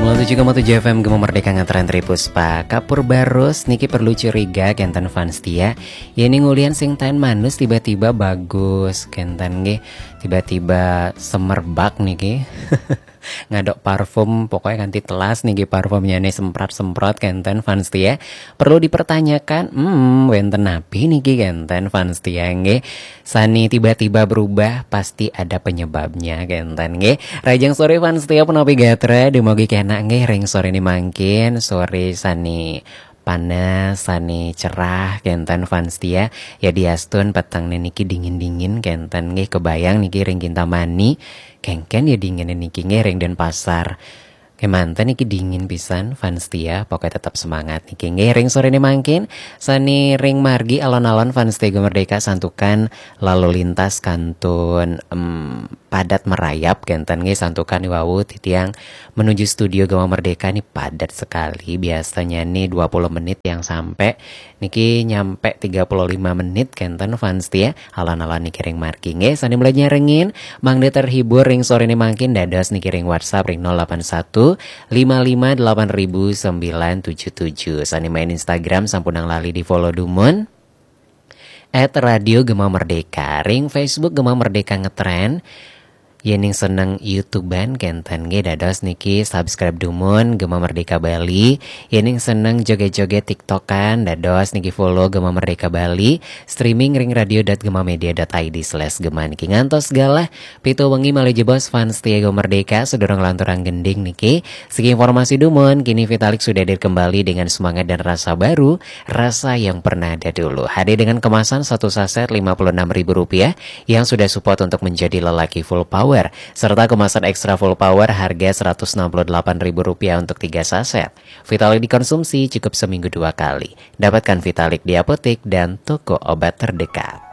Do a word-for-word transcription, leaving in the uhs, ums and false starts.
Nol tujuh koma tujuh F M Gema Merdeka ngetren Tri Puspa. Kapur barus niki perlu curiga kenten fans tia. Ya ini ngulian sing tain manus tiba-tiba bagus kenten nggih. Tiba-tiba semerbak niki. Ngadok parfum pokoknya ganti telas niki parfumnya nih semprot-semprot kenten fans tia. Perlu dipertanyakan, hmm, wenten napi niki kenten fans tia nggih. Sani tiba-tiba berubah pasti ada penyebabnya kenten nggih. Rajang sore fans tia penapi gatra dumugi kenak nggih ring sore ini mangkin sore sani panas, sani cerah kenten fans tia. Ya diastun peteng niki dingin-dingin kenten nggih kebayang niki ring Kintamani. Kengken ya dingin niki nggih ring Denpasar. Kemanten niki dingin pisan fans tia, pokoknya tetap semangat niki nggih ring sore ini mangkin. Sani ring margi alon-alon fans tia Gema Merdeka santukan lalu lintas kantun em, padat merayap kenten nggih santukan wau titiang menuju studio Gema Merdeka nih padat sekali biasanya nih dua puluh menit yang sampai niki nyampe tiga puluh lima menit kenten fans tia. Alon-alon niki ring margi nggih sani belajar rengin mangde terhibur ring sore ini mangkin dados niki ring WhatsApp ring nol delapan satu lima lima delapan ribu sembilan tujuh tujuh. Sani main Instagram sampunang lali di follow dumun at Radio Gema Merdeka. Ring Facebook Gema Merdeka ngetren. Yening seneng YouTubean kenten nggih dados niki subscribe dumun Gema Merdeka Bali. Yening seneng joget-joget TikTokan dados niki follow Gema Merdeka Bali. Streaming ring radio dot gema media dot I D slash gema niki ngantos galah pitu wengi malih jebos fans tia Gema Merdeka sedurung lanturang gending niki. Segi informasi dumun kini Vitalik sudah hadir kembali dengan semangat dan rasa baru, rasa yang pernah ada dulu. Hadir dengan kemasan satu saset lima puluh enam ribu rupiah yang sudah support untuk menjadi lelaki full power serta kemasan extra full power harga seratus enam puluh delapan ribu rupiah untuk tiga saset. Vitalik dikonsumsi cukup seminggu dua kali. Dapatkan Vitalik di apotek dan toko obat terdekat.